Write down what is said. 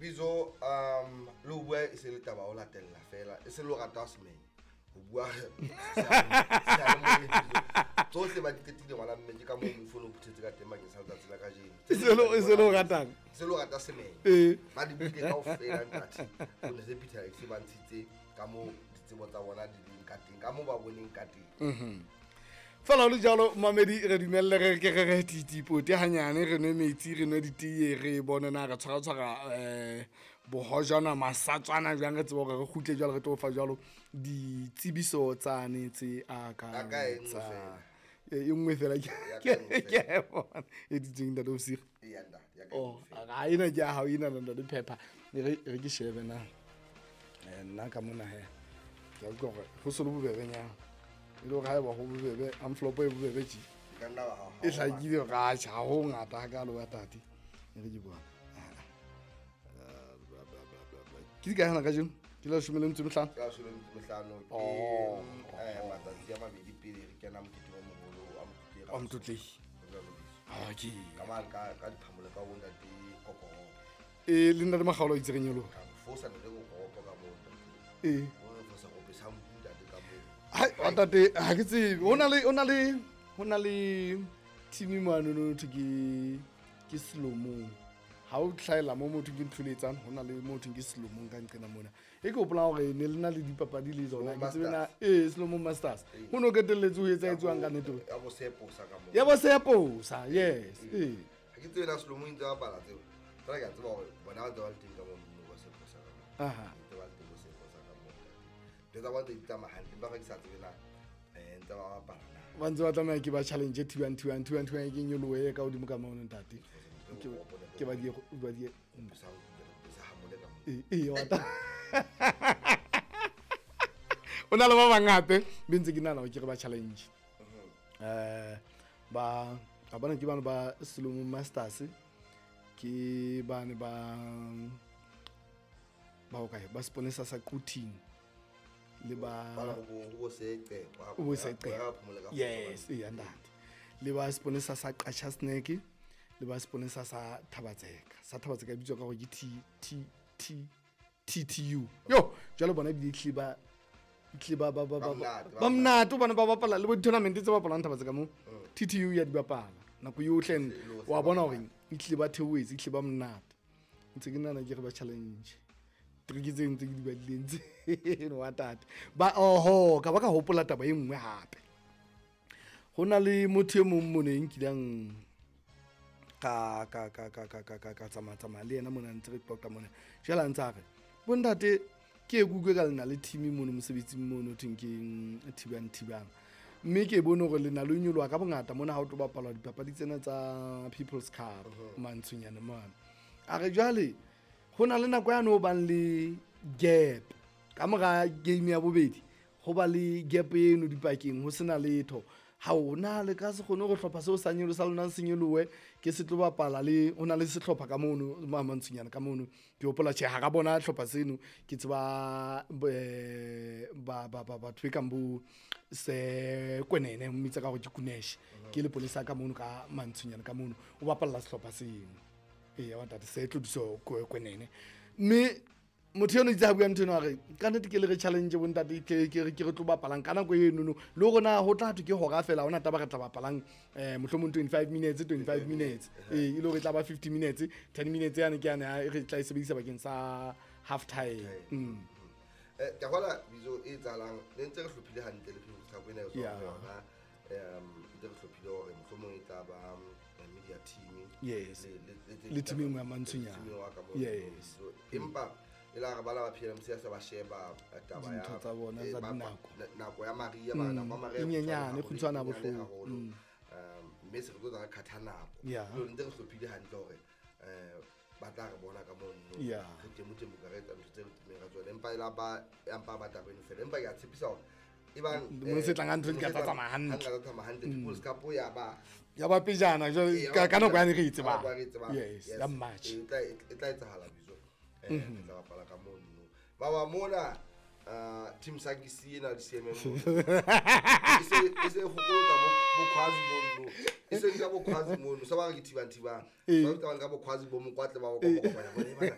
Bizo le ho bua e se le taba o latella fela e se le o rata semenya ho bua tsohle ba di qetile ngwana mme ke ka moo moifo o phuthetse ka teng bakeng sa letsatsi la kajeno. E se le o ratang? E se le o rata semenya. Ba di buile kaofela ntate. O ne se Peter X ba ntshitse ka moo ditsebo tsa bona di leng ka teng, ka moo ba boneng ka teng. Fela ho le jalo mamedi re dumelle re ke re re titipote hanyane re nwe metsi re nwe diteye re bone na re tshwara bohojana masatswana jwang re tsebe hore re kgutle jwalo re tlo fa jwalo ditsebiso tsane tse a ka tsa e nngwe fela ke a bona e ditseng ntate Bosigo. Oh ga ena ke ya hao ena ntate Pepper re ke shebe na nna ka mona he ke a utlwa hore ho se le bobebenyana e le hore ha eba ho bobebe envelope e bobebe tje e hlakile hore atjhe ha ho ngata hakalo wa tate e re ke bona ke di kae hana kajeno ke la 15. Ka 15 ke matsatsi a mabedi pele re kena mokete o moholo wa Motlotlegi. Okay. Ka mane ka diphamole ka bo ntate Kokoro. Le ntate Makgaolo itse re nyoloha. Ka fosa ntate Kokoro ka bo ntate. O re fosa go pesa ntate ka bo. Hai wa tate ha ke tsebe ho na le team mane no thwe ke Selomong. Ha o tlhaela mo motho ke ntho le etsang ho na le motho ke Selomong ka nqena mona. E ke hopola hore ne le na le dipapadi le tsona ke tsebe na Selomong Masters. Ho no qetelletse ho etsa etswang ka nete. Ya bo Seposa ka mo. Ya bo Seposa, yes. Ha ke tsebe na Selomong ntse ba bapala tseo. Fela ke a tseba hore bona ba ntse ba le teng ka mo bo Seposa ka mo. Ntse ba le teng bo Seposa ka mo. Ntho tsa bona tse di tsamaya hantle empa ke sa tsebe na ntse ba bapala na. Ba ntse ba tlameha ke ba challenge thibang ke nyolohe ka hodimo ka mono ntate. Ke ba di wa ta. O na le ba bang hape be ntse ke nahana hore ke re ba challenge. Ba a bona ke bana ba Selomong Masters ke bane ba hokae ba Seponesa sa Quthing le ba bo Seqe. Yes, e ntate. Le ba Seponesa sa Qacha Snack le ba Seponesa sa Thabatseka. Sa Thabatseka e bitswa ka hore ke T T T TTU. Yo, jwale bona ebile tlile ba ba mnate bana ba bapala le bo tournament tse bapalang Thabatseka mo. TTU ya di bapala nako yohle wa bona hore e tlile ba theohetse e tlile ba mnate. Ntse ke nahana ke re ba challenge. Trick tse ntse ke di badileng tse no wa tate. Ba oho ka ba ka hopola taba e nngwe hape. Ho na le motho e mong mona e nkileng ka tsamaya le yena mona ntse re qoqa mona. Jwale a ntse a re bontate ke e kutlwe ka lena le team mono mosebetsing mono thweng ke thibang. Mme ke bone hore le na le nyoloha ka bongata mona ha o tlo bapalwa dipapadi tsena tsa People's Cup mantshonyane mane. A re jwale ho na le nako yane ho bang le gap ka mora game ya bobedi ho ba le gap eno dipakeng ho sena letho. Ha o na le ka se kgone go hlopha seo sa nyolo sa lona se nyolowe ke se tlo bapala le o na le sehlopha ka mono mantshonyana ka mono ke hopola tjhe ha ka bona hlopha seno ke tseba ba batho e kang bo se Kwenene mmitsa ka hore ke Kunesh ke le polisa ka mono ka mantshonyana ka mono o bapalla sehlopha seno e wa ntate se tlodiso Kwenene mme motho eno itse ha bua ntho eno a re ka nnete ke le re challenge bo ntate ke re tlo bapalang ka nako eno no le rona ho tla thwe ke hora fela hona taba re tla bapalang mohlomong 25 minutes e le hore e tla ba 50 minutes 10 minutes yane ke yane re tla e sebedisa bakeng sa half time. Ke hola bizo e tsalang le ntse re hlophile hantle le People's Cup ena e tswa yona ntse re hlophile hore mohlomong e tla ba media team yes le team ya mantshonyana yes empa e la re bala ba PLMC sa ba sheba taba ya tsa bona tsa dinako nako ya Maria ba nako ya Maria e nyenyane kgutshwana bohloko mme se re tlo tsa khatha nako le ntse re hlophile hantle hore ba tla re bona ka mono re temo ka re etsa ntho tse re tumeng ka tsona empa ela ba empa ba taba eno fela empa ke a tshepisa hore e bang mo se tlang ntho di ka tsamaya hantle ka tsamaya hantle People's Cup ya ba pejana ka nako ya re tseba yes ya March e tla etsahala bizo re tla bapala ka mono ba ba mona team Sakisi ena di CMM e se hokolo bo khwazi mono e se ka bo khwazi mono sa ba re ke thibang ba ka bo khwazi bo mokwatle ba go kopanya bone bana